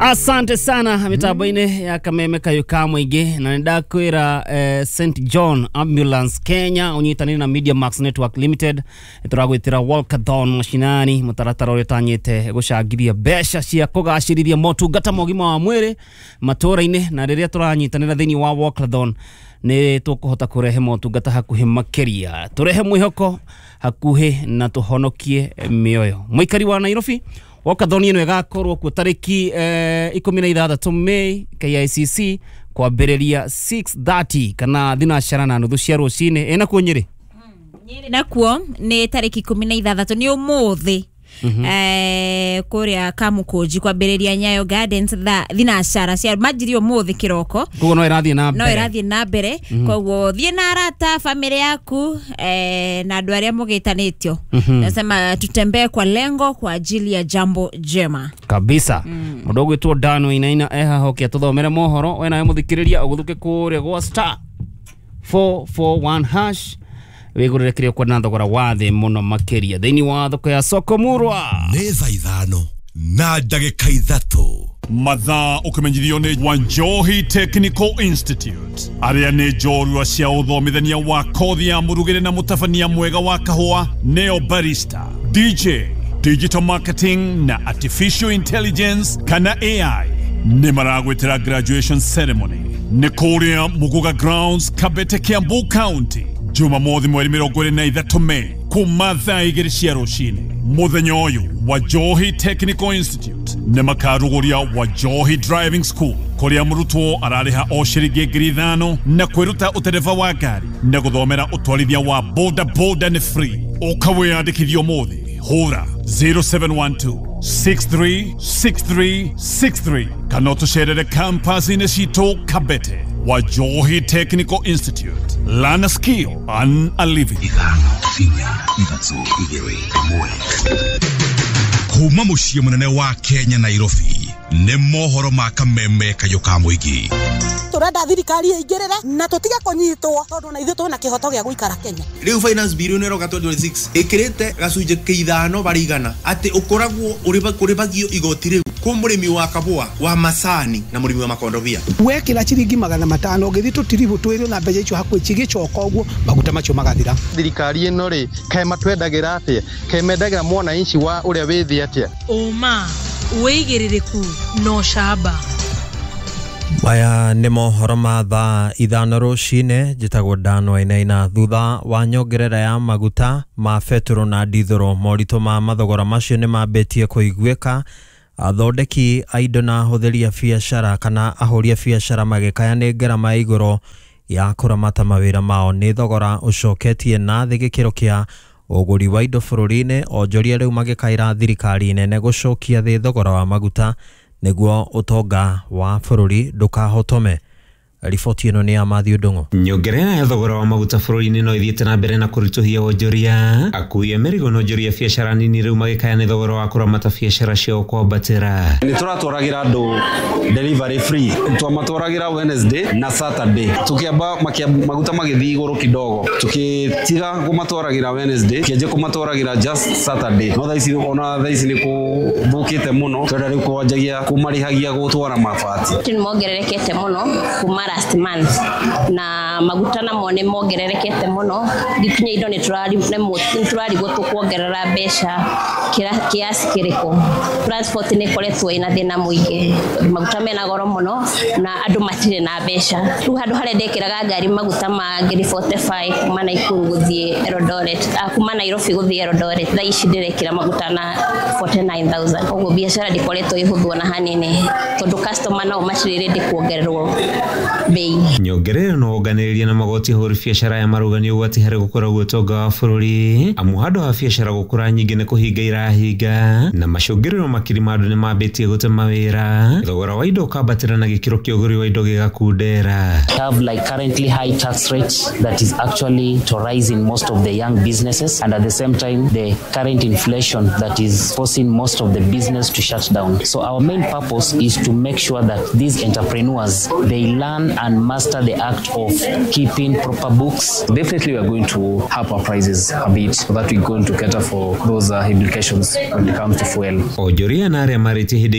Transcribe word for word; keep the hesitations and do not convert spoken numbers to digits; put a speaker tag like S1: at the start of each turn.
S1: Asante sana mitambo-inĩ ya Kameme Kayũ ka Mũingĩ, na nĩ ndakwĩra eh, Saint John Ambulance Kenya ũnyitanĩire na Media Max Network Limited tũragwĩtĩra Walkathon Mashinani, mũtaratara ũrĩa ũtanyĩte gũcangithia mbeca cia kũgacĩrithia motungata ma ũgima wa mwĩrĩ matũũra-inĩ. Na rĩrĩa tũranyitanĩra thĩinĩ wa Walkathon nĩ tũkũhota kũrehe motungata hakuhĩ makĩria, tũrehe mwĩhoko hakuhĩ na tũhonokie mĩoyo. Mũikari wa Nairobi, Walkathon ĩno ĩgakorwo kuo tarĩki eh, ikũmi na ithathatũ May K I C C kwambĩrĩria six thirty kana thinacara na nuthu cia rũcinĩ. Ĩna kuo Nyĩrĩ?
S2: Nyĩrĩ nakuo nĩ tarĩki ikũmi na ithathatũ, nĩ ũmũthĩ, eh, kũrĩa Kamũkũnji kwambĩrĩria Nyayo Gardens thaa thinacara cia manjirie ũmũthĩ kĩroko.
S1: Koguo no ĩrathiĩ na
S2: no
S1: mbere.
S2: Ĩrathiĩ na mbere, koguo thiĩ na arata, bamĩrĩ yaku eh, na andũ arĩa mũgĩtanĩtio. Nasema tutembee kwa lengo kwa ajili ya jambo jema.
S1: Kabisa. Mũndũ ũgwĩtwo Dano Inaina ehahoke atũthomere mohoro. We nawe mũthikĩrĩria ũgũthũke kũrĩa gwa star four four one hash wĩgũrĩre kĩrĩa ũkwenda na thogora wa thĩ mũno makĩria thĩinĩ wa thoko ya Soko Murwa.
S3: Nĩ thaa ithano na ndagĩka ithatũ.
S4: Mathaa ũkĩmenyithio nĩ Wanjohi Technical Institute, arĩa nĩ njorua cia ũthomithania wa kothi ya mũrugĩre na mũtabania mwega wa kahũa, neo barista, D J, digital marketing na artificial intelligence kana A I. Nĩ maragwĩtĩra graduation ceremony nĩ kũrĩa Muguga Grounds, Kabete, Kiambu County, Jumamothi mweri mĩrongo ĩrĩ na ithatũ Mei kuma thaa igĩrĩ cia rũcinĩ. Mũthenya ũyũ Wajohi Technical Institute nĩ makarugũria Wajohi Driving School, kũrĩa mũrutwo ararĩha o ciringi ngiri ithano na kwĩruta ũtereba wa ngari na gũthomera ũtwarithia wa boda boda nĩ free. Ũka wĩyandĩkithie ũmũthĩ, hũra zero seven one two six three six three six three kana ũtũcerere campus-inĩ citũ Kabete. Wajohi Technical Institute, learn a skill, earn a living.
S3: Ithano, inya, ithatũ, igĩrĩ, ĩmwe. Kuma mũciĩ mũnene wa Kenya, Nairobi, nĩ mohoro ma Kameme Kayũ ka Mũingĩ.
S5: Turenda thirikari ĩingĩrĩre na tũtige kũnyitwo tondũ na ithuĩ twĩna kĩhoto gĩa gũikara Kenya.
S6: Rĩu finance bill ĩno ĩroka twenty twenty-six ĩkĩrĩte gacunjĩ kĩa ithano barĩ igana atĩ ũkoragwo ũrĩbagio igoti rĩu kwĩ mũrĩmi wa kabũa wa macani na mũrĩmi wa makondobia.
S7: Wekĩra ciringi magana matano ũgĩthiĩ tũtiribũ twĩrĩ na mbeca icio hakuhĩ cigĩcoka ũguo maguta macio magathira.
S8: Thirikari ĩno rĩ, kaĩ matwendagĩra atĩa? Kaĩ mendagĩra mwananchi wa ũrĩa wĩ thĩ atĩa?
S9: Ũma, wĩigĩrĩrĩku na ũcamba.
S10: Maya nĩ mohoro ma thaa ithano rũcinĩ. Njĩtagwo Dano Wainaina. Thutha wa nyongerera ya maguta ma betũrũ na ndithũrũ, moritũ ma mathogora macio nĩ mambĩtie kũiguĩka, athondeki a indo na ahũthĩri a biacara kana ahũri a biacara magĩkaya nĩ ngarama ya igũrũ ya kũramata mawĩra mao. Nĩ thogora ũcoketie na thĩ gĩkĩro kĩa ũgũri wa indo bũrũri-inĩ. Onjoria rĩu magĩkaĩra thirikari nene gũcokia thĩ thogora wa maguta nĩguo ũtonga wa bũrũri ndũkahotome. Riboti ĩno nĩ ya Matthew Ndung'u.
S11: Nyongerera ya thogora wa maguta bũrũri-inĩ no ĩthiĩte na mbere na kũritũhia wonjoria. Akui a mĩrigo na onjoria biacara nini rĩu magĩkaya nĩ thogora wa kũramata biacara ciao kwambatĩra.
S12: Nĩ tũratwaragĩra andũ delivery free, twamatwaragĩra Wednesday na Saturday. Tukiamba maguta magĩthiĩ igũrũ kidogo, tukĩtiga kũmatwaragĩra Wednesday, kĩanjia kũmatwaragĩra just Saturday. No thaa ici, ona thaa ici nĩ kũthũkĩte mũno, twenda rĩu kwanjagia kũmarĩhagia gũtwara mabati.
S13: Nĩ mongererekete mũno kuma last month, na maguta namo nĩ mongererekete mũno. Nginya indo nĩ tũrarigwo tũkuongerera mbeca kiasi kĩrĩkũ. Transport nĩ ĩkoretwo ĩna thĩna mũingĩ tondũ maguta mena goro mũno na andũ matirĩ na mbeca. Rĩu handũ harĩa ndekĩraga ngari maguta ma ngiri mĩrongo ĩna na ithano kuma Naikuru gũthiĩ Eldoret, ah, kuma Nairobi gũthiĩ Eldoret, thaa ici ndĩrekĩra maguta na mĩrongo ĩna na kenda. Ũguo biacara ndĩkoretwo ĩhũthũ ona hanini tondũ customer nao matirĩ ready kuongererwo bei.
S11: Nyongerera no wonganĩrĩria na magoti ahũri biacara ya marauga nĩ ũgwati harĩ gũkũra gwa ũtonga wa bũrũri, amu handũ ha biacara gũkũra nyingĩ nĩ kũhinga irahinga, na macũngĩrĩro makiri ma andũ nĩ mambĩtie gũte mawĩra, thogora wa indo ũkambatĩra na gĩkĩro kĩa ũgũri wa indo gĩgakundera.
S14: Have like currently high tax rates that is actually to rise in most of the young businesses, and at the same time the current inflation that is forcing most of the business to shut down. So our main purpose is to make sure that these entrepreneurs, they learn and master the act of keeping proper books.
S15: Definitely we are going to up our prices a bit so that we're going to cater for those uh, implications when it comes to fuel.
S11: Onjoria na arĩa marĩtie hĩndĩ